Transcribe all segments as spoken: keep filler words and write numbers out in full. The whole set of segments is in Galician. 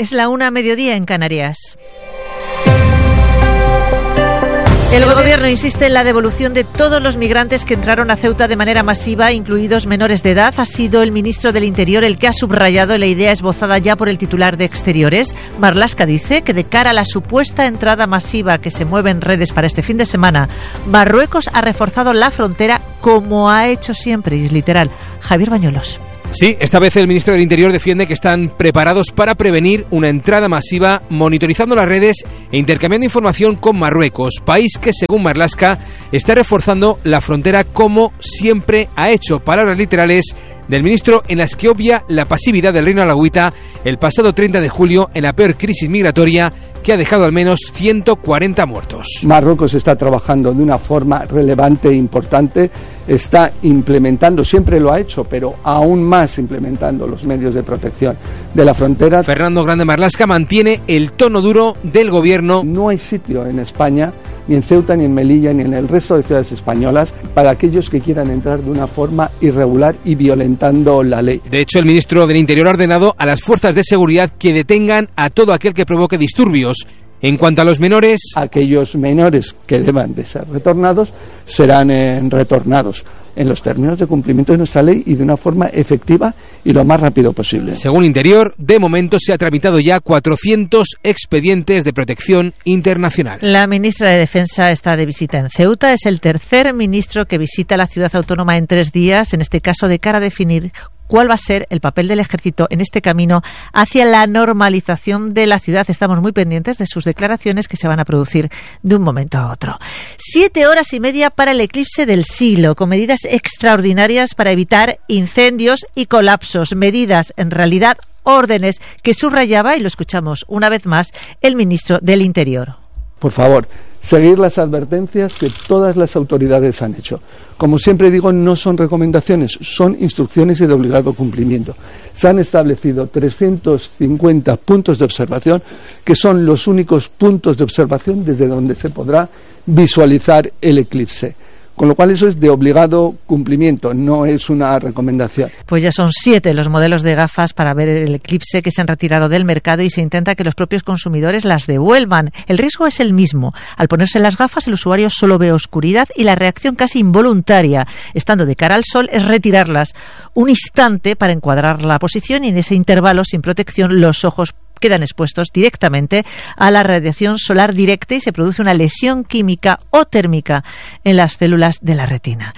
Es la una a mediodía en Canarias. El Gobierno insiste en la devolución de todos los migrantes que entraron a Ceuta de manera masiva, incluidos menores de edad. Ha sido el ministro del Interior el que ha subrayado la idea esbozada ya por el titular de Exteriores. Marlaska dice que de cara a la supuesta entrada masiva que se mueve en redes para este fin de semana, Marruecos ha reforzado la frontera como ha hecho siempre, y es literal. Javier Bañuelos. Sí, esta vez el ministro del Interior defiende que están preparados para prevenir una entrada masiva, monitorizando las redes e intercambiando información con Marruecos, país que, según Marlaska, está reforzando la frontera como siempre ha hecho. Palabras literales del ministro en las que obvia la pasividad del reino alauita el pasado treinta de julio en la peor crisis migratoria que ha dejado al menos ciento cuarenta muertos. Marruecos está trabajando de una forma relevante e importante, está implementando, siempre lo ha hecho, pero aún más implementando los medios de protección de la frontera. Fernando Grande Marlaska mantiene el tono duro del gobierno. No hay sitio en España, ni en Ceuta, ni en Melilla, ni en el resto de ciudades españolas, para aquellos que quieran entrar de una forma irregular y violentando la ley. De hecho, el ministro del Interior ha ordenado a las fuerzas de seguridad que detengan a todo aquel que provoque disturbios. En cuanto a los menores, aquellos menores que deban de ser retornados serán eh, retornados en los términos de cumplimiento de nuestra ley y de una forma efectiva y lo más rápido posible. Según Interior, de momento se ha tramitado ya cuatrocientos expedientes de protección internacional. La ministra de Defensa está de visita en Ceuta. Es el tercer ministro que visita la ciudad autónoma en tres días, en este caso de cara a definir cuál va a ser el papel del ejército en este camino hacia la normalización de la ciudad. Estamos muy pendientes de sus declaraciones que se van a producir de un momento a otro. Siete horas y media para el eclipse del siglo, con medidas extraordinarias para evitar incendios y colapsos. Medidas, en realidad, órdenes que subrayaba, y lo escuchamos una vez más, el ministro del Interior. Por favor, seguir las advertencias que todas las autoridades han hecho. Como siempre digo, no son recomendaciones, son instrucciones y de obligado cumplimiento. Se han establecido trescientos cincuenta puntos de observación, que son los únicos puntos de observación desde donde se podrá visualizar el eclipse. Con lo cual eso es de obligado cumplimiento, no es una recomendación. Pues ya son siete los modelos de gafas para ver el eclipse que se han retirado del mercado y se intenta que los propios consumidores las devuelvan. El riesgo es el mismo. Al ponerse las gafas el usuario solo ve oscuridad y la reacción casi involuntaria, estando de cara al sol, es retirarlas un instante para encuadrar la posición y en ese intervalo sin protección los ojos quedan expuestos directamente a la radiación solar directa y se produce una lesión química o térmica en las células de la retina.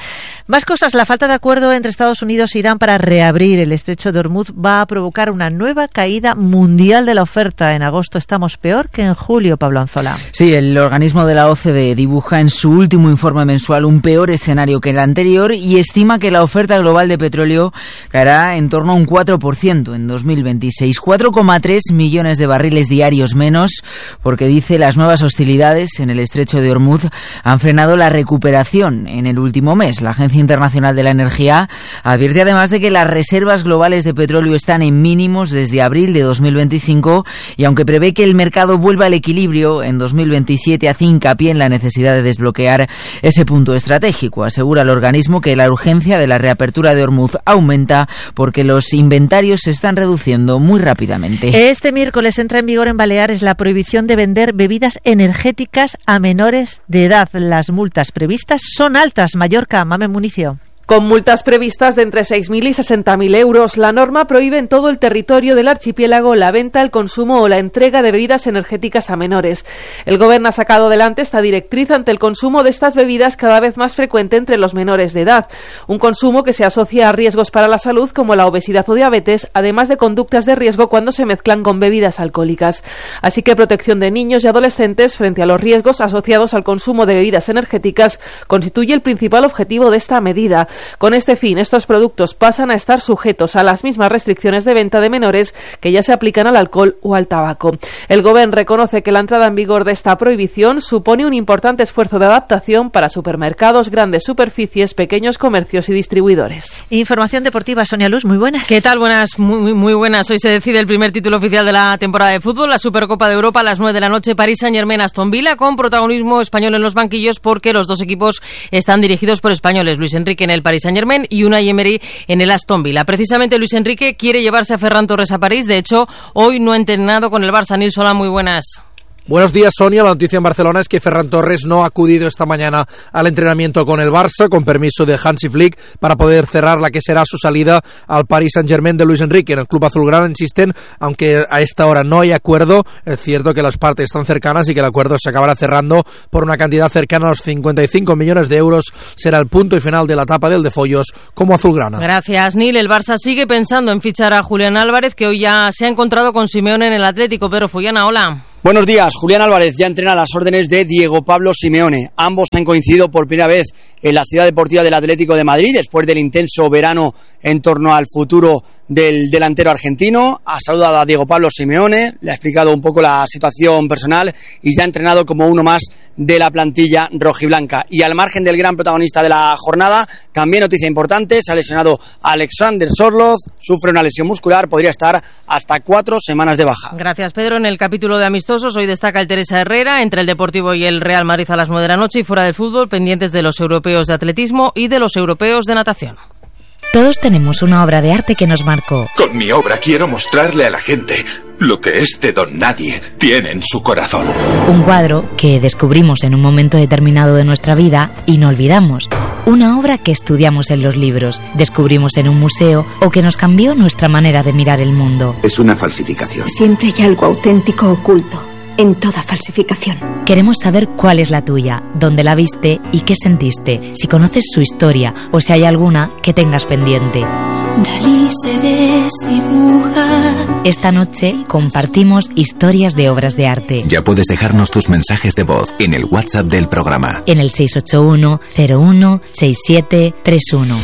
Más cosas. La falta de acuerdo entre Estados Unidos e Irán para reabrir el estrecho de Hormuz va a provocar una nueva caída mundial de la oferta. En agosto estamos peor que en julio, Pablo Anzola. Sí, el organismo de la O C D E dibuja en su último informe mensual un peor escenario que el anterior y estima que la oferta global de petróleo caerá en torno a un cuatro por ciento en dos mil veintiséis. cuatro coma tres millones de barriles diarios menos, porque dice las nuevas hostilidades en el estrecho de Hormuz han frenado la recuperación en el último mes. La Agencia Internacional de la Energía advierte además de que las reservas globales de petróleo están en mínimos desde abril de dos mil veinticinco y aunque prevé que el mercado vuelva al equilibrio en dos mil veintisiete, hace hincapié en la necesidad de desbloquear ese punto estratégico. Asegura el organismo que la urgencia de la reapertura de Hormuz aumenta porque los inventarios se están reduciendo muy rápidamente. Este miércoles entra en vigor en Baleares la prohibición de vender bebidas energéticas a menores de edad. Las multas previstas son altas. Mallorca, Mamen Municio. Con multas previstas de entre seis mil y sesenta mil euros, la norma prohíbe en todo el territorio del archipiélago la venta, el consumo o la entrega de bebidas energéticas a menores. El Gobierno ha sacado adelante esta directriz ante el consumo de estas bebidas cada vez más frecuente entre los menores de edad. Un consumo que se asocia a riesgos para la salud como la obesidad o diabetes, además de conductas de riesgo cuando se mezclan con bebidas alcohólicas. Así que protección de niños y adolescentes frente a los riesgos asociados al consumo de bebidas energéticas constituye el principal objetivo de esta medida. Con este fin, estos productos pasan a estar sujetos a las mismas restricciones de venta de menores que ya se aplican al alcohol o al tabaco. El Gobierno reconoce que la entrada en vigor de esta prohibición supone un importante esfuerzo de adaptación para supermercados, grandes superficies, pequeños comercios y distribuidores. Información deportiva, Sonia Luz, muy buenas. ¿Qué tal? Buenas, muy, muy buenas. Hoy se decide el primer título oficial de la temporada de fútbol, la Supercopa de Europa, a las nueve de la noche, Paris Saint-Germain-Aston Villa, con protagonismo español en los banquillos porque los dos equipos están dirigidos por españoles. Luis Enrique en el Paris Saint-Germain y Unai Emery en el Aston Villa. Precisamente Luis Enrique quiere llevarse a Ferran Torres a París. De hecho, hoy no ha entrenado con el Barça. Nils, hola, muy buenas. Buenos días, Sonia. La noticia en Barcelona es que Ferran Torres no ha acudido esta mañana al entrenamiento con el Barça, con permiso de Hansi Flick, para poder cerrar la que será su salida al Paris Saint-Germain de Luis Enrique. En el club azulgrana insisten, aunque a esta hora no hay acuerdo, es cierto que las partes están cercanas y que el acuerdo se acabará cerrando por una cantidad cercana a los cincuenta y cinco millones de euros. Será el punto y final de la etapa del de Follos como azulgrana. Gracias, Nil. El Barça sigue pensando en fichar a Julián Álvarez, que hoy ya se ha encontrado con Simeone en el Atlético. Pedro Fullana, hola. Buenos días. Julián Álvarez ya entrena a las órdenes de Diego Pablo Simeone. Ambos han coincidido por primera vez en la Ciudad Deportiva del Atlético de Madrid después del intenso verano en torno al futuro del delantero argentino. Ha saludado a Diego Pablo Simeone, le ha explicado un poco la situación personal y ya ha entrenado como uno más de la plantilla rojiblanca. Y al margen del gran protagonista de la jornada, también noticia importante, se ha lesionado Alexander Sorloth, sufre una lesión muscular, podría estar hasta cuatro semanas de baja. Gracias, Pedro. En el capítulo de amistosos hoy destaca el Teresa Herrera entre el Deportivo y el Real Madrid a las nueve de la noche, y fuera del fútbol pendientes de los europeos de atletismo y de los europeos de natación. Todos tenemos una obra de arte que nos marcó. Con mi obra quiero mostrarle a la gente lo que este don nadie tiene en su corazón. Un cuadro que descubrimos en un momento determinado de nuestra vida y no olvidamos. Una obra que estudiamos en los libros, descubrimos en un museo o que nos cambió nuestra manera de mirar el mundo. Es una falsificación. Siempre hay algo auténtico oculto en toda falsificación. Queremos saber cuál es la tuya, dónde la viste y qué sentiste, si conoces su historia o si hay alguna que tengas pendiente. Dalí se desdibuja. Esta noche compartimos historias de obras de arte. Ya puedes dejarnos tus mensajes de voz en el WhatsApp del programa. En el seis ocho uno, cero uno, seis siete tres uno.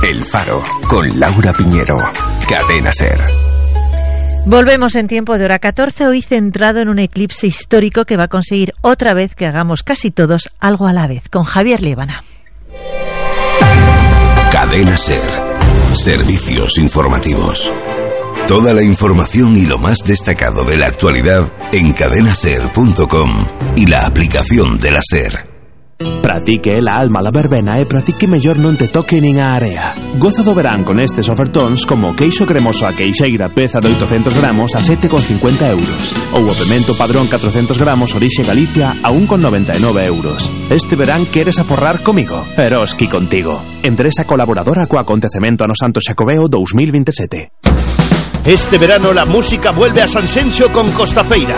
El Faro, con Laura Piñero. Cadena SER. Volvemos en tiempo de hora catorce, hoy centrado en un eclipse histórico que va a conseguir otra vez que hagamos casi todos algo a la vez, con Javier Líbana. Cadena SER. Servicios informativos. Toda la información y lo más destacado de la actualidad en cadena ser punto com y la aplicación de la SER. Pratique la alma la verbena e pratique mellor non te toque nin a area. Goza do verán con estes ofertóns como queixo cremoso a queixeira peza de oitocentos gramos a sete con cincuenta euros ou o pemento padrón catrocentos gramos orixe Galicia a un con noventa e nove euros. Este verán queres aforrar comigo? Eroski contigo. Empresa colaboradora co acontecemento ano Santo Xacobeo dos mil veintisiete. Este verano la música vuelve a San Senxo con Costafeira.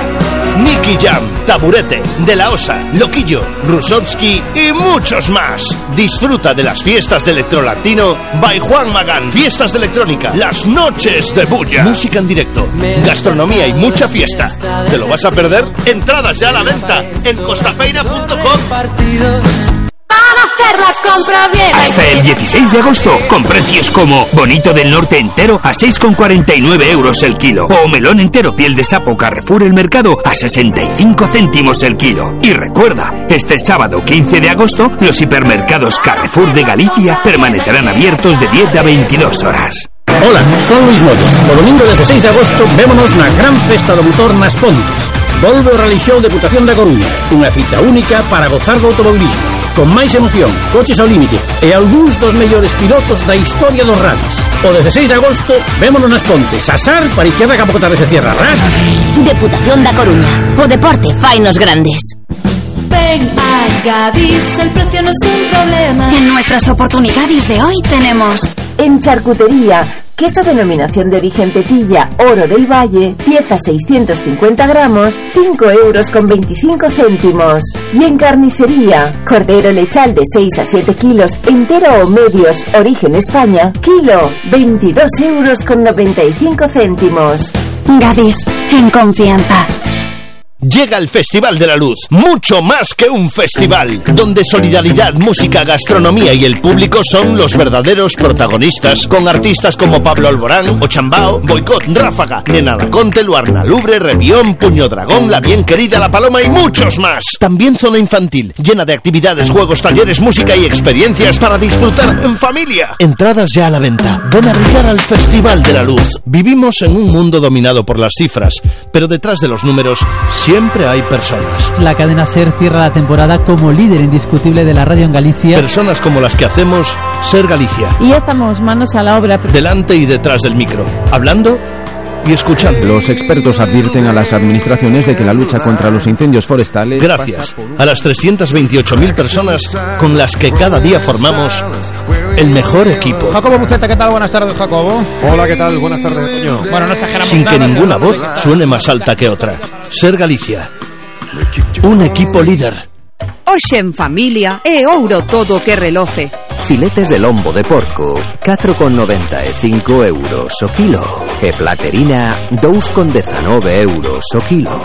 Nicky Jam, Taburete, De La Osa, Loquillo, Rusovsky y muchos más. Disfruta de las fiestas de electrolatino by Juan Magán. Fiestas de electrónica, las noches de bulla. Música en directo, gastronomía y mucha fiesta. ¿Te lo vas a perder? Entradas ya a la venta en costafeira punto com. Hasta el dieciséis de agosto, con precios como bonito del norte entero a seis con cuarenta y nueve euros el kilo, o melón entero piel de sapo Carrefour El Mercado a sesenta y cinco céntimos el kilo. Y recuerda, este sábado quince de agosto, los hipermercados Carrefour de Galicia permanecerán abiertos de diez a veintidós horas. Hola, son Luis Moyo. O domingo dieciséis de agosto vémonos na gran festa do motor nas Pontes. Volve o Rally Show Deputación da Coruña, unha cita única para gozar do automobilismo, con máis emoción, coches ao límite e algúns dos mellores pilotos da historia dos rallies. O dieciséis de agosto vémonos nas Pontes, asar para izquierda que a pouco tarde se cierra. Ras. Deputación da Coruña, o deporte fainos grandes. Ven a Gadis, el precio no es un problema. En nuestras oportunidades de hoy tenemos en charcutería, queso denominación de origen Tetilla, Oro del Valle, pieza seiscientos cincuenta gramos, cinco euros con veinticinco céntimos. Y en carnicería, cordero lechal de seis a siete kilos, entero o medios, origen España, kilo, veintidós euros con noventa y cinco céntimos. Gadis, en confianza. Llega el Festival de la Luz, mucho más que un festival, donde solidaridad, música, gastronomía y el público son los verdaderos protagonistas, con artistas como Pablo Alborán, Ochambao, Boicot, Ráfaga, Nena Laconte, Luarna Lubre, Revión, Puño Dragón, La Bien Querida, La Paloma y muchos más. También zona infantil, llena de actividades, juegos, talleres, música y experiencias para disfrutar en familia. Entradas ya a la venta. Ven a brillar al Festival de la Luz. Vivimos en un mundo dominado por las cifras, pero detrás de los números siempre siempre hay personas. La cadena SER cierra la temporada como líder indiscutible de la radio en Galicia. Personas como las que hacemos Ser Galicia. Y ya estamos manos a la obra. Delante y detrás del micro, hablando y escuchando. Los expertos advierten a las administraciones de que la lucha contra los incendios forestales... Gracias a las trescientas veintiocho mil personas con las que cada día formamos el mejor equipo. Jacobo Buceta, ¿qué tal? Buenas tardes, Jacobo. Hola, ¿qué tal? Buenas tardes, Toño. Bueno, no exageramos Sin nada, que ninguna voz nada. suene más alta que otra. Ser Galicia. Un equipo líder. Hoxe en familia é ouro todo que reloce. Filetes de lombo de porco, catro con noventa e cinco euros o kilo. E platerina, dous con dezanove euros o kilo.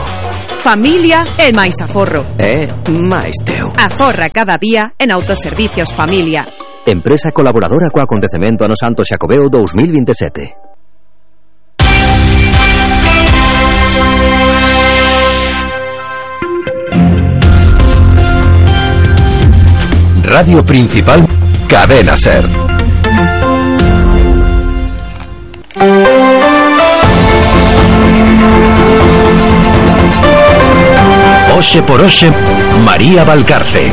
Familia é máis aforro. É máis teu. Aforra cada día en Autoservicios Familia. Empresa colaboradora co acontecemento ano Santo Xacobeo dos mil veintisiete. Radio Principal, Cadena SER. Oxe por Oxe, María Valcarce.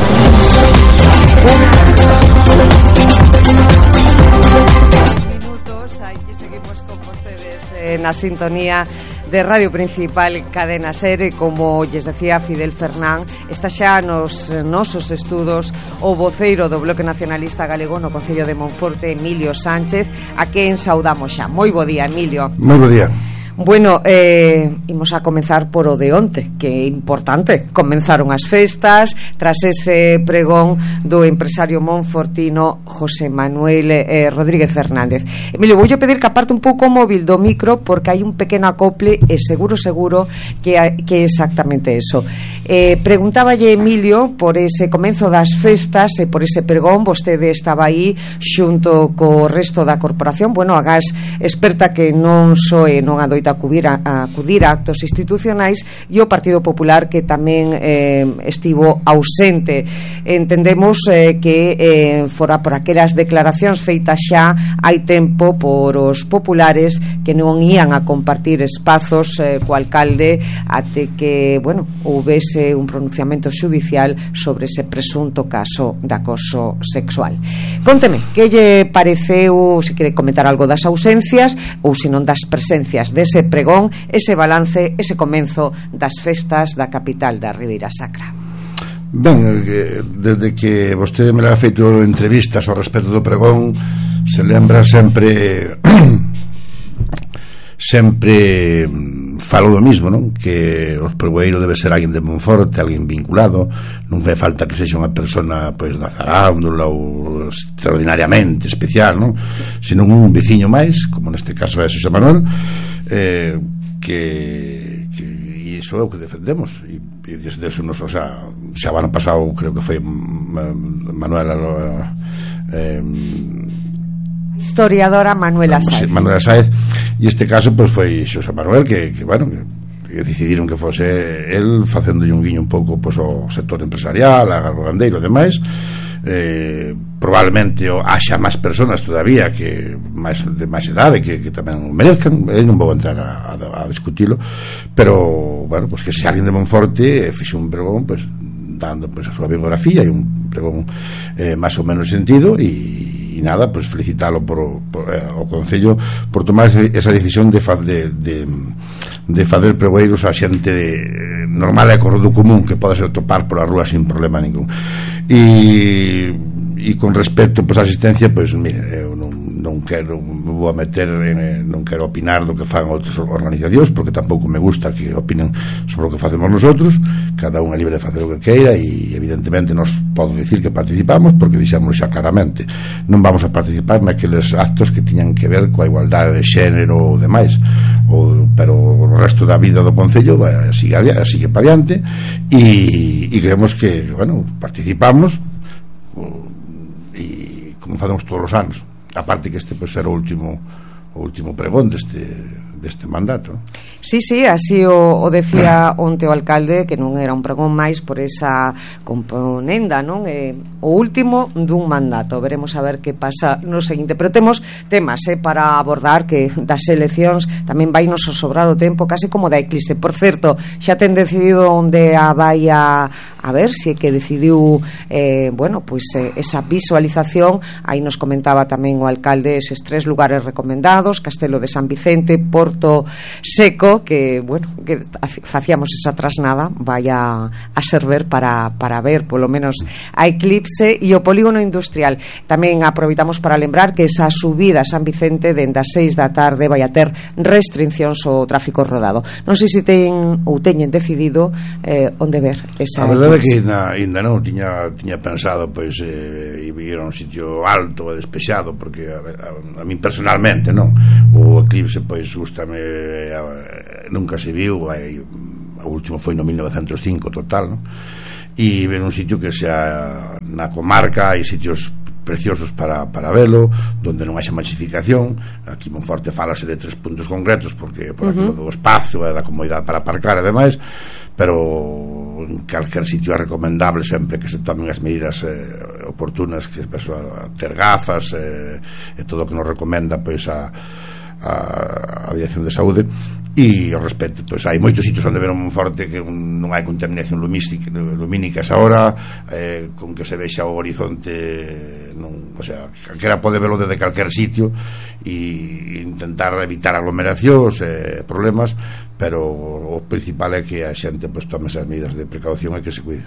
Minutos, aquí seguimos con ustedes en la sintonía de Radio Principal, Cadena SER, e como lles decía Fidel Fernán, está xa nos nosos estudos o voceiro do Bloque Nacionalista Galego no Concello de Monforte, Emilio Sánchez, a quen saudamos xa. Moi bo día, Emilio. Moi bo día. Bueno, eh, imos a comenzar por o de onte, que é importante. Comenzaron as festas tras ese pregón do empresario monfortino José Manuel eh, Rodríguez Fernández. Emilio, voulle pedir que aparte un pouco o móvil do micro, porque hai un pequeno acople e seguro, seguro que, que é exactamente eso. Eh, preguntáballe Emilio por ese comenzo das festas e por ese pregón. Vostede estaba aí xunto co resto da corporación. Bueno, agás experta que non soe, non adoita acudir a, a acudir a actos institucionais, e o Partido Popular, que tamén eh, estivo ausente. Entendemos eh, que eh, fora por aquelas declaracións feitas xa hai tempo por os populares, que non ían a compartir espazos eh, co alcalde até que, bueno, houvese un pronunciamento xudicial sobre ese presunto caso de acoso sexual. Conteme, que lle pareceu, se quere comentar algo das ausencias ou se non das presencias dese ese pregón, ese balance, ese comenzo das festas da capital da Ribeira Sacra. Ben, desde que vostede me ha feito entrevistas ao respecto do pregón, se lembra sempre sempre falo do mismo, non? Que o pregoeiro debe ser alguén de Monforte, alguén vinculado, non fai falta que sexa unha persona pois da zarándula ou extraordinariamente especial, non? Senón un veciño máis, como neste caso é Xosé Manuel, eh, que, que e iso é o que defendemos, e, e desde eso nos, o sea, xa o ano pasado creo que foi Manuel eh, historiadora Manuela Sáez. Manuela Sáez, e este caso pues foi Xosé Manuel que, que bueno, que, que decidiron que fose el facendo un guiño un pouco pues, ao sector empresarial, a gandeiro e demais. Eh, probablemente o, haxa máis persoas todavía que máis, de máis edade que, que tamén merezcan. Eu non vou entrar a, a, a discutilo, pero bueno, pues que se alguén de Monforte fixe un pregón pues, dando pues, a súa biografía e un pregón eh, máis ou menos sentido, e, e nada, pues felicitalo por, por, eh, o Concello por tomar esa decisión de, fa, de, de, de fazer pregoeiros a xente de, normal e corredo común que pode ser topar por a rúa sin problema ningún. E, e con respecto pues, a asistencia, pues mire, eu non, non quero me vou a meter en, non quero opinar do que fan outras organizacións, porque tampouco me gusta que opinen sobre o que facemos nosotros. Cada un é libre de facer o que queira, e evidentemente nos podo dicir que participamos, porque dixamos xa claramente non vamos a participar naqueles actos que tiñan que ver coa igualdade de xénero ou demais, o, pero o resto da vida do Concello vai, sigue, sigue para diante, e, e creemos que, bueno, participamos e como facemos todos os anos. Aparte que este pues, era o último o último pregón deste, deste mandato. Sí, sí, así o, o decía onte o alcalde, que non era un pregón máis por esa componenda, non? Eh, o último dun mandato. Veremos a ver que pasa no seguinte, pero temos temas eh, para abordar, que das eleccións tamén vai nos sobrar o tempo, casi como da eclipse. Por certo, xa ten decidido onde a vai a, a ver, se é que decidiu eh, bueno, pois eh, esa visualización. Aí nos comentaba tamén o alcalde eses tres lugares recomendados: Castelo de San Vicente, Porto Seco, que, bueno, que facíamos esa trasnada, vai a, a servir para, para ver polo menos a eclipse. E o polígono industrial tamén aproveitamos para lembrar que esa subida a San Vicente dende as seis da tarde vai a ter restriccións ao tráfico rodado. Non sei se ten ou teñen decidido eh, onde ver esa. A verdade é que ainda, ainda non tiña, tiña pensado pois eh, ir a un sitio alto e despexado, porque a, a, a mí personalmente non, o eclipse pois gustame, a, nunca se viu, hai, o último foi no mil novecentos e cinco total, non? E ver un sitio que sea na comarca, hai sitios preciosos para, para velo, donde non haxa masificación. Aquí Monforte falase de tres puntos concretos, porque por aquilo do espacio e da comodidade para aparcar e demais, pero en calquer sitio é recomendable sempre que se tomen as medidas eh, oportunas, que se a ter gafas eh, e todo o que nos recomenda pois a a, a Dirección de Saúde. E ao respecto, pois hai moitos sitios onde ver un Monforte que un, non hai contaminación lumística, lumínica esa hora, eh, con que se vexa o horizonte, non, o sea, calquera pode verlo desde calquer sitio, e intentar evitar aglomeracións e eh, problemas, pero o principal é que a xente pois tome esas medidas de precaución e que se cuide.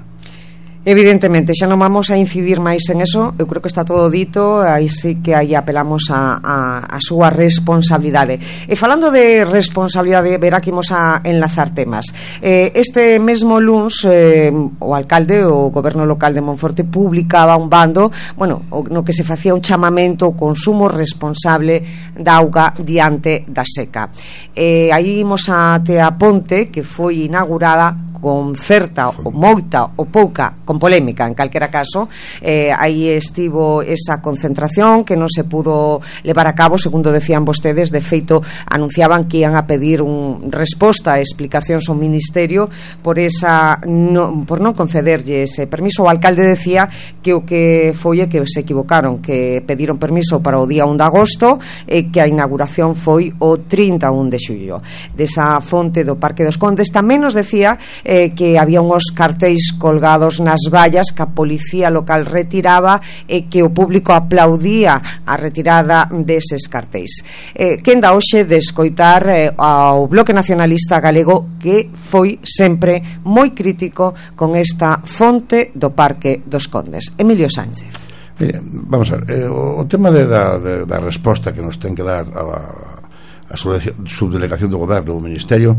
Evidentemente, xa non vamos a incidir máis en eso, eu creo que está todo dito, aí sí que aí apelamos a, a, a súa responsabilidade. E falando de responsabilidade, verá que imos a enlazar temas. Eh, este mesmo luns, eh, o alcalde, o goberno local de Monforte, publicaba un bando, bueno, no que se facía un chamamento ao consumo responsable da auga diante da seca. Eh, aí imos a Tea Ponte, que foi inaugurada con certa ou moita ou pouca, con polémica en calquera caso. eh, aí estivo esa concentración que non se pudo levar a cabo, segundo decían vostedes. De feito, anunciaban que ian a pedir un resposta e explicacións ao Ministerio por esa no, por non concederlle ese permiso. O alcalde decía que o que foi é que se equivocaron, que pediron permiso para o día un de agosto e que a inauguración foi o trinta e un de xullo desa fonte do Parque dos Condes. Tamén nos decía eh, que había uns cartéis colgados nas vallas que a policía local retiraba e que o público aplaudía a retirada deses cartéis. Eh, quenda hoxe de escoitar eh, ao Bloque Nacionalista Galego, que foi sempre moi crítico con esta fonte do Parque dos Condes. Emilio Sánchez. Mire, vamos a ver, eh, o, o tema de, da, de, da resposta que nos ten que dar a a subdelegación do goberno, o ministerio,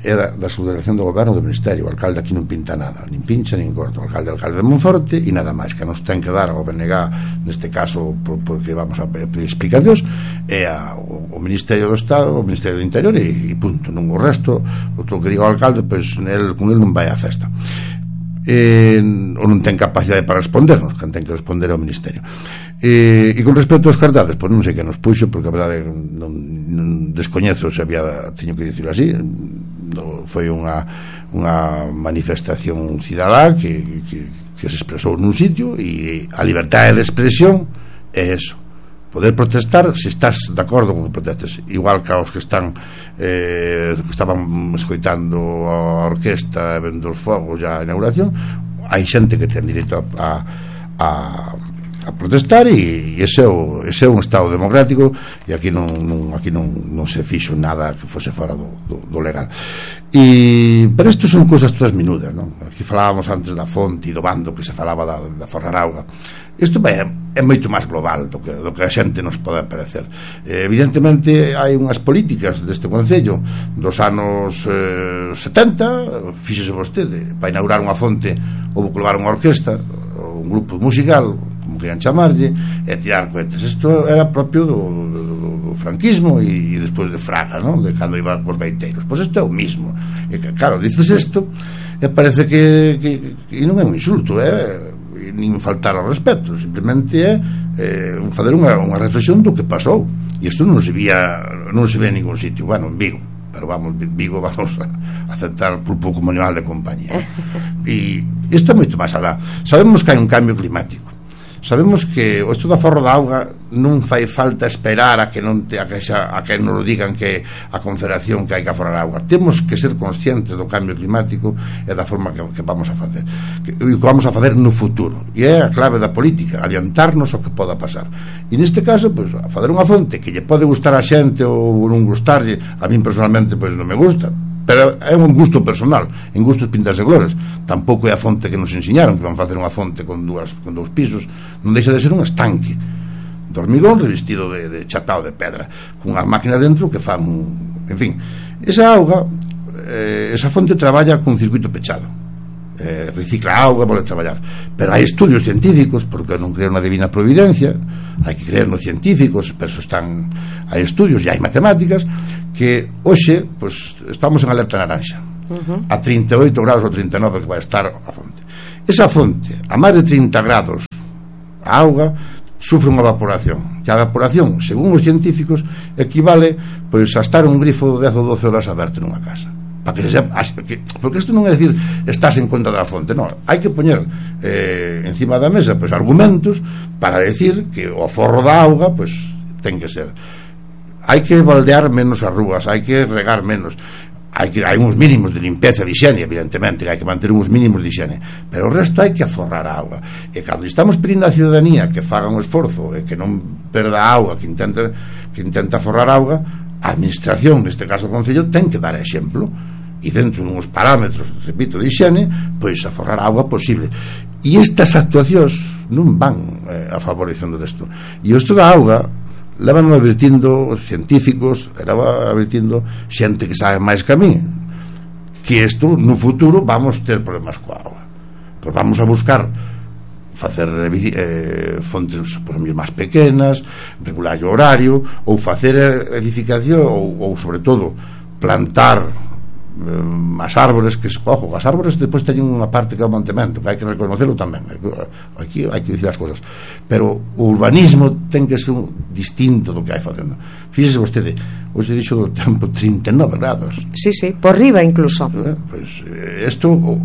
era da subdelegación do goberno do ministerio. O alcalde aquí non pinta nada, nin pincha nin corta. O alcalde, o alcalde de Monforte, e nada máis. Que nos ten que dar ao B N G, neste caso, por, porque vamos a pedir explicacións, é a, o, o Ministerio do Estado, o Ministerio do Interior, e, e punto. Non o resto, o que diga o alcalde, pois el, con el non vai a festa. Eh, ou non ten capacidade para respondernos, que ten que responder ao Ministerio. E, e con respecto aos cartades, pois non sei que nos puxo, porque a verdade non, non descoñezo se había, teño que dicirlo así. No, foi unha, unha manifestación cidadá que, que, que se expresou nun sitio, e a liberdade de expresión é eso, poder protestar se estás de acordo con que protestes, igual que aos que están eh, que estaban escoitando a orquesta e vendo os fogos já a inauguración. Hai xente que ten direito a, a, a protestar, e ese é, o, ese é un estado democrático, e aquí non, non, aquí non, non se fixo nada que fose fora do, do, do legal. E, pero isto son cousas todas minudas, non? Aquí falábamos antes da fonte e do bando que se falaba da, da Forrarauga. Isto é, é moito máis global do que, do que a xente nos pode parecer. Eh, evidentemente hai unhas políticas deste Concello dos anos eh, setenta, fíxese vostede, para inaugurar unha fonte houve que levar unha orquesta, un grupo musical, como querían chamarlle, e tirar cohetes. Isto era propio do, do, do, do franquismo e, e despois de Fraga, non? De cando iban cos gaiteiros. Pois isto é o mismo. E claro, dices isto e parece que, que, que non é un insulto, é nin faltar ao respeto, simplemente é eh, fazer unha, unha reflexión do que pasou. e isto non se vía non se ve en ningún sitio, bueno, en Vigo, pero vamos, Vigo vamos a aceptar por pouco como animal de compañía. E isto é moito máis alá. Sabemos que hai un cambio climático, sabemos que o estudo da forro da auga non fai falta esperar a que non te, a que, xa, a que nos digan que a Confederación que hai que aforrar a auga. Temos que ser conscientes do cambio climático e da forma que, que vamos a facer, que, que vamos a facer no futuro, e é a clave da política, adiantarnos o que poda pasar. E neste caso, pois, a fazer unha fonte que lle pode gustar a xente ou non gustarlle, a min personalmente pois non me gusta, pero é un gusto personal, en gustos pintas e glores. Tampouco é a fonte que nos enseñaron, que van facer unha fonte con dúas con dous pisos, non deixa de ser un estanque de hormigón revestido de, de chatao de pedra, cunha máquina dentro que fan un... en fin, esa auga eh, esa fonte traballa con circuito pechado, eh, recicla auga, pode traballar, pero hai estudios científicos, porque non creo na divina providencia, hai que creer nos científicos, pero eso están, hai estudios e hai matemáticas que hoxe pues, estamos en alerta naranja, uh-huh. a trinta e oito grados ou trinta e nove que vai estar a fonte. Esa fonte, a máis de trinta grados, a auga sufre unha evaporación, e a evaporación, según os científicos, equivale pois, a estar un grifo de dez ou doce horas aberto nunha casa, para que se sepa, porque isto non é decir estás en contra da fonte, non, hai que poñer eh, encima da mesa pois, argumentos para decir que o aforro da auga pois, ten que ser, hai que baldear menos as rúas, hai que regar menos, hai que hai uns mínimos de limpeza, de higiene, evidentemente hai que manter uns mínimos de higiene, pero o resto hai que aforrar a auga. E cando estamos pedindo á ciudadanía que faga un esforzo e que non perda a auga, que intente, que intente aforrar a auga, a administración, neste caso o Concello, ten que dar exemplo e dentro dunhos parámetros, repito, de higiene, pois aforrar a auga posible. E estas actuacións non van eh, a favorecendo desto. E isto da auga levan advertindo científicos, leva advertindo xente que sabe máis que a mí, que isto no futuro vamos ter problemas coa auga, pois vamos a buscar facer eh, fontes por exemplo, máis pequenas, regular o horario, ou facer edificación ou, ou sobre todo plantar eh, as árbores que, ojo, as árbores depois teñen unha parte que é o mantemento, que hai que reconocerlo tamén, aquí hai que dicir as cosas, pero o urbanismo ten que ser un distinto do que hai facendo. Fíxese vostede, hoxe dixo do tempo trinta e nove grados, sí, sí, por riba incluso, eh, pois isto o,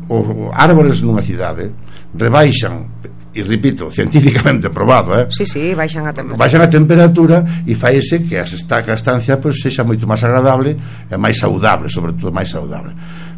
o árbores nunha cidade rebaixan, e repito, científicamente probado, eh? Sí, sí, baixan a temperatura. Baixan a temperatura e faise que a estancia pois, sexa moito máis agradable e máis saudable, sobre todo máis saudable.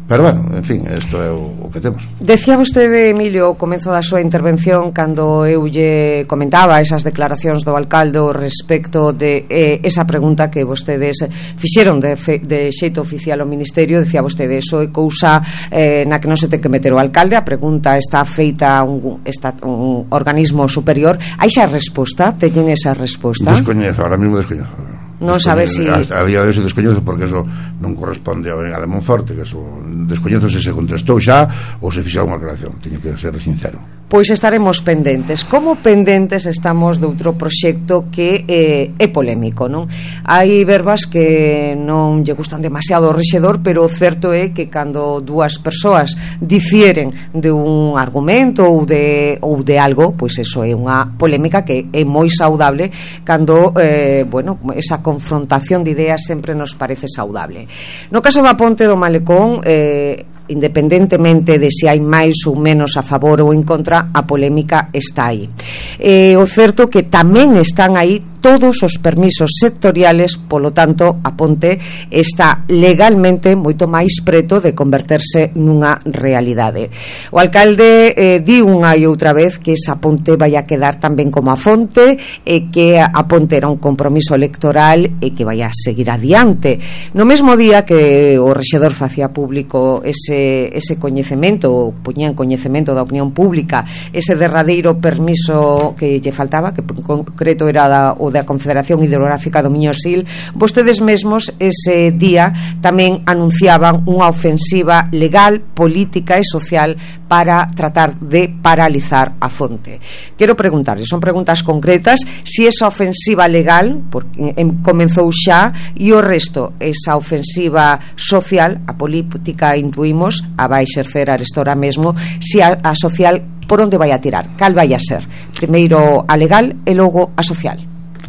Pero bueno, en fin, isto é o, o que temos. Decía vostede, Emilio, ao comezo da súa intervención, cando eu lle comentaba esas declaracións do alcalde respecto de eh, esa pregunta que vostedes fixeron de, fe, de xeito oficial ao Ministerio, decía vostede, eso é cousa eh, na que non se ten que meter o alcalde, a pregunta está feita a un, está, un organismo superior. Hai xa resposta? Teñen esa resposta? Descoñezo, ahora mesmo descoñezo. Non sabe si... A, a día de hoxe descoñezo porque eso non corresponde ao Brigada de Monforte, que eso descoñezo se se contestou xa ou se fixou unha aclaración, teño que ser sincero. Pois estaremos pendentes. Como pendentes estamos de outro proxecto que eh, é polémico, non? Hai verbas que non lle gustan demasiado ao rexedor, pero o certo é que cando dúas persoas difieren de un argumento ou de, ou de algo, pois eso é unha polémica que é moi saudable cando, eh, bueno, esa confrontación de ideas sempre nos parece saudable. No caso da ponte do Malecón, eh, independentemente de se hai máis ou menos a favor ou en contra, a polémica está aí. Eh, o certo que tamén están aí todos os permisos sectoriales, polo tanto a ponte está legalmente moito máis preto de converterse nunha realidade. O alcalde eh, di unha e outra vez que esa ponte vai a quedar tamén como a fonte, e que a ponte era un compromiso electoral e que vai a seguir adiante. No mesmo día que o rexedor facía público ese, ese coñecemento, poñía en coñecemento da opinión pública ese derradeiro permiso que lle faltaba, que en concreto era da, o da Confederación Hidrográfica do Miño-Sil, vostedes mesmos ese día tamén anunciaban unha ofensiva legal, política e social para tratar de paralizar a fonte. Quero preguntarles, son preguntas concretas, si esa ofensiva legal porque comenzou xa, e o resto, esa ofensiva social, a política intuimos a vai exercer arestora mesmo, si a, a social por onde vai a tirar, cal vai a ser? Primeiro a legal e logo a social.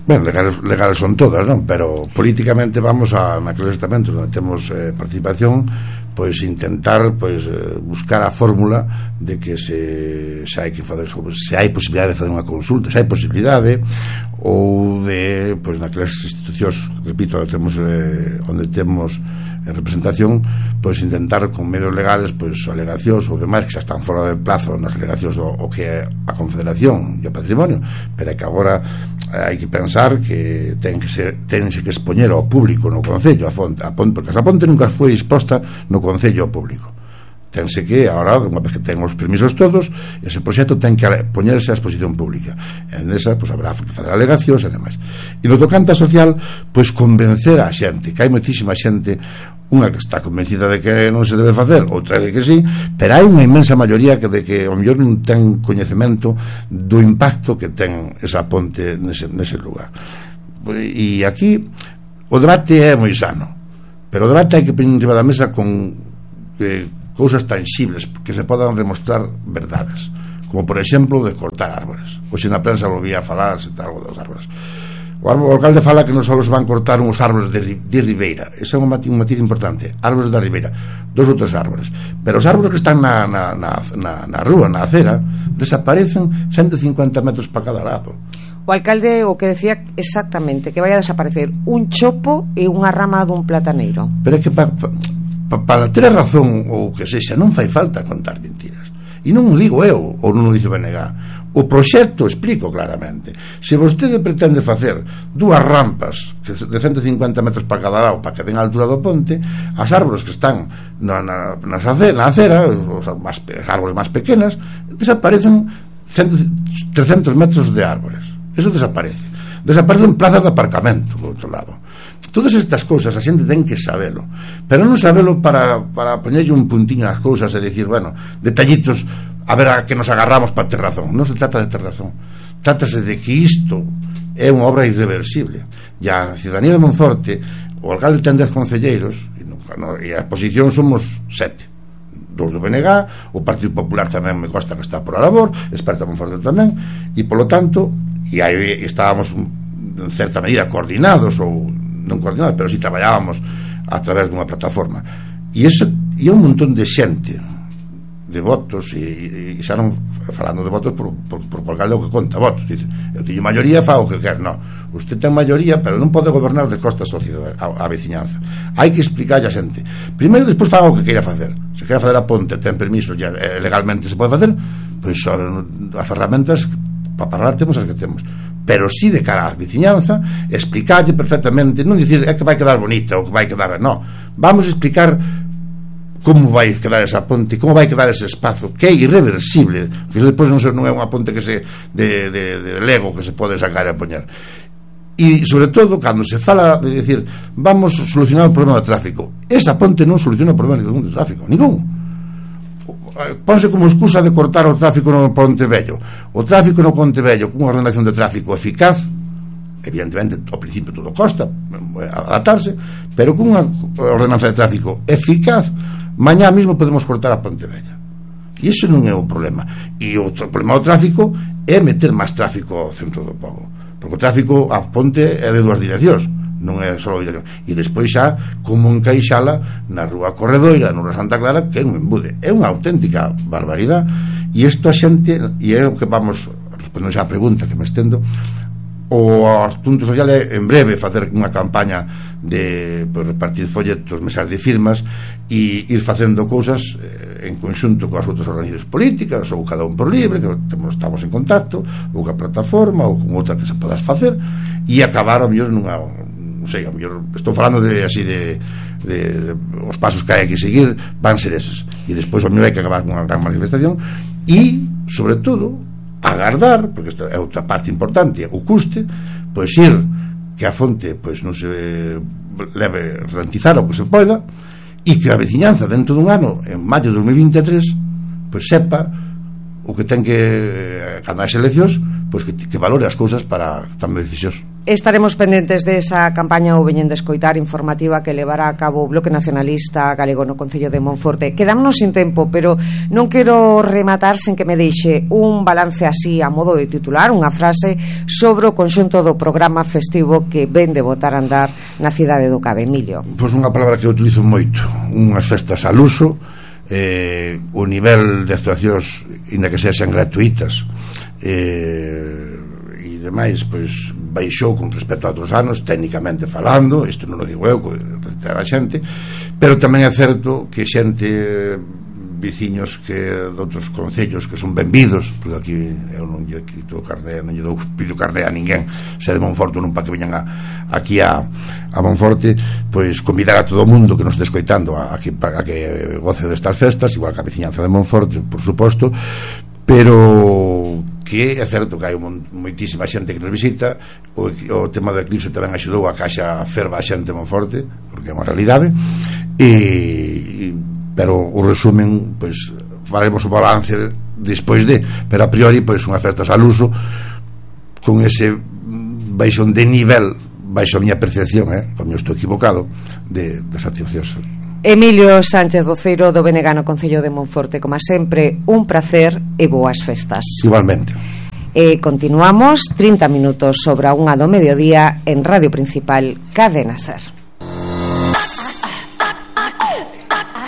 Ben, legales, legales son todas, non? Pero políticamente vamos a naqueles estamentos onde temos eh, participación, pois intentar pois eh, buscar a fórmula de que se, se hai que fazer sobre, se hai posibilidade de fazer unha consulta, se hai posibilidade, ou de pois naquelas institucións, repito, onde temos eh, onde temos en representación, pois intentar con medios legales, pois alegacións ou demais que xa están fora de plazo nas alegacións o, o que é a Confederación e o Patrimonio, pero é que agora hai que pensar que ten que ser, tense que expoñer ao público no Concello a fonte, a ponte, porque esa ponte nunca foi exposta no Concello ao público. Tense que, agora, unha vez que ten os permisos todos, ese proxecto ten que poñerse a exposición pública. En esa, pois, habrá que fazer alegacións e demais. E no tocante a social, pois, convencer a xente, que hai moitísima xente, unha que está convencida de que non se debe facer, outra de que sí, pero hai unha inmensa maioría que de que ao mellor non ten coñecemento do impacto que ten esa ponte nese, nese lugar. E aquí o debate é moi sano, pero o debate hai que poñer enriba da mesa con eh, cousas tangibles que se podan demostrar verdades, como por exemplo de cortar árboles. Hoxe na prensa volvía a falar se tal, algo dos árboles. O, árbol, o alcalde fala que non só se van cortar uns árboles de, de ribeira, ese é un matiz, un matiz importante, árboles da ribeira, dos ou tres árboles, pero os árboles que están na, na, na, na, na rúa, na acera, desaparecen ciento cincuenta metros para cada lado. O alcalde o que decía exactamente que vai a desaparecer un chopo e unha rama dun plataneiro. Pero é que para pa, pa, pa ter razón ou que sexa, non fai falta contar mentiras. E non o digo eu, ou non o dice B N G. O proxecto explico claramente. Se vostede pretende facer dúas rampas de ciento cincuenta metros para cada lado para que den a altura do ponte, as árboles que están na, na, na acera, os más, árboles máis pequenas, desaparecen cento, trescentos metros de árboles. Eso desaparece. Desaparecen plazas de aparcamento, por outro lado. Todas estas cousas a xente ten que sabelo, pero non sabelo para, para poñerlle un puntiño ás cousas e dicir, bueno, detallitos a ver a que nos agarramos para ter razón. Non se trata de ter razón, trátase de que isto é unha obra irreversible. E a ciudadanía de Monforte, o alcalde ten dez concelleiros e, nunca, no, e a posición somos sete, dous do B N G, o Partido Popular tamén me consta que está por a labor, Experta Monforte tamén, e polo tanto, e aí estábamos en certa medida coordinados, ou non coordinados, pero si traballábamos a través dunha plataforma, e ese e un montón de xente de votos, e, e xa non falando de votos por, por, por o alcalde o que conta votos, dice, eu teño maioría, fa o que quer. Non, usted ten maioría, pero non pode gobernar de costa a sociedade, a, a veciñanza. Hai que explicarlle a xente, primeiro, despois faga o que queira facer. Se queira fazer a ponte, ten permiso, ya, eh, legalmente se pode facer, pois as ferramentas para parar temos as que temos, pero si de cara á veciñanza explicarlle perfectamente, non dicir é que vai quedar bonita ou que vai quedar, non, vamos a explicar como vai quedar esa ponte, como vai quedar ese espazo que é irreversible, que depois non, non é unha ponte que se de, de, de Lego que se pode sacar e poñer. E sobre todo cando se fala de decir vamos a solucionar o problema do tráfico, esa ponte non soluciona o problema do tráfico, ningún. Ponse como excusa de cortar o tráfico no Ponte Vello. O tráfico no Ponte Vello con unha ordenación de tráfico eficaz, evidentemente ao principio todo costa adaptarse, pero con unha ordenanza de tráfico eficaz, mañá mesmo podemos cortar a Ponte Vella. E iso non é o problema. E o problema do tráfico é meter máis tráfico ao centro do pobo, porque o tráfico a ponte é de dúas direccións, non é só dirección. E despois xa como encaixala na Rúa Corredoira, na Rúa Santa Clara, que é un embude, é unha auténtica barbaridade. E isto a xente, e é o que vamos respondendo xa a pregunta que me estendo, o asunto social é en breve facer unha campaña de pues, repartir folletos, mesas de firmas e ir facendo cousas eh, en conxunto coas outras organizacións políticas ou cada un por libre, que temos, estamos en contacto, ou coa plataforma ou con outra que se podas facer, e acabar a mellor nunha, non sei, a mellor estou falando de así de, de, de os pasos que hai que seguir van ser eses, e despois a mellor hai que acabar con unha gran manifestación e sobre todo agardar, porque isto é outra parte importante, o custe, pois ir que a fonte pois non se leve rentizar o que se poida e que a veciñanza dentro dun ano, en maio de dos mil vinte e tres, pois sepa o que ten que cando hai eleccións, pois que, que valore as cousas para tomar decisións. Estaremos pendentes desa campaña ou veñen de escoitar informativa que levará a cabo o Bloque Nacionalista Galego no Concello de Monforte. Quedámonos sin tempo, pero non quero rematar sen que me deixe un balance así a modo de titular, unha frase sobre o conxunto do programa festivo que ven de botar a andar na cidade do Cabo. Emilio. Pois unha palabra que eu utilizo moito, unhas festas al uso, eh, o nivel de actuacións inda que sexan gratuitas eh, e demais, pois baixou con respecto a outros anos, técnicamente falando, isto non o digo eu, que a xente, pero tamén é certo que xente, veciños que de outros concellos que son benvidos, porque aquí eu non lle quito carné, non lle dou pido carné a ninguén, se de Monforte non para que veñan a, aquí a, a Monforte, pois convidar a todo o mundo que nos este escoitando a, a, que, a que goce destas festas, igual que a veciñanza de Monforte, por suposto, pero que é certo que hai moitísima xente que nos visita. O, o tema do eclipse tamén axudou a que haxa ferva a xente en Monforte, porque é unha realidade, e, pero o resumen, pois faremos o balance despois de, pero a priori pois unha festas al uso con ese baixón de nivel, baixo a miña percepción, eh, como eu estou equivocado, de, das actuacións. Emilio Sánchez, voceiro do B N G no Concello de Monforte, como sempre, un placer e boas festas. Igualmente. E continuamos trinta minutos sobre a unha do mediodía en Radio Principal Cadena Ser.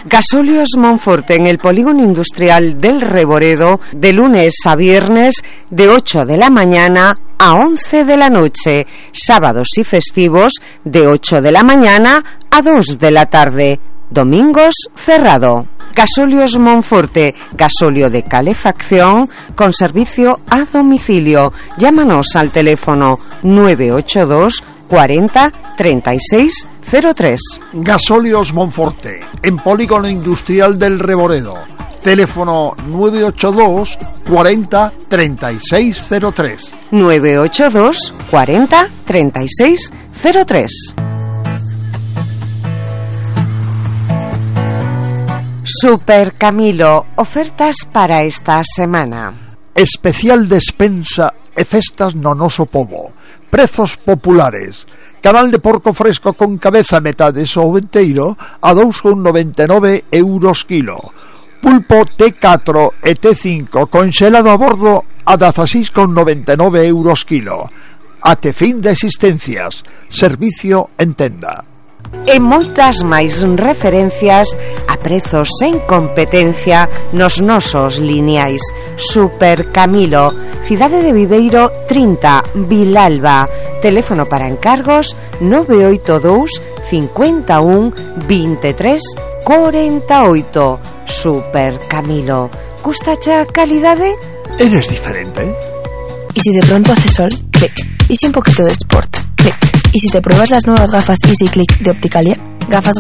Gasóleos Monforte en el polígono industrial del Reboredo, de lunes a viernes de ocho de la mañana a once de la noche, sábados y festivos de ocho de la mañana a dos de la tarde, domingos cerrado. Gasóleos Monforte, gasóleo de calefacción con servicio a domicilio. Llámanos al teléfono nueve ocho dos cuarenta treinta y seis cero tres. Gasóleos Monforte, en polígono industrial del Reboredo. Teléfono nueve ocho dos cuarenta treinta y seis cero tres. nueve ocho dos cuarenta treinta y seis cero tres. Super Camilo, ofertas para esta semana. Especial despensa e festas no noso pobo. Prezos populares. Canal de porco fresco con cabeza metades ou enteiro a dous con noventa e nove euros kilo. Pulpo T catro e T cinco conxelado a bordo a dezaseis con noventa e nove euros kilo. Até fin de existencias. Servicio en tenda. E moitas máis referencias a prezos sen competencia nos nosos lineais. Super Camilo, Cidade de Viveiro trinta, Vilalba. Teléfono para encargos nove oito dous cincuenta e un veintitrés cuarenta e oito. Super Camilo, ¿gustache a calidade? Eres diferente. ¿Y si de pronto hace sol? Clic. ¿Y si un poquito de sport? Clic. ¿Y si te pruebas las nuevas gafas Easy Click de Opticalia? Gafas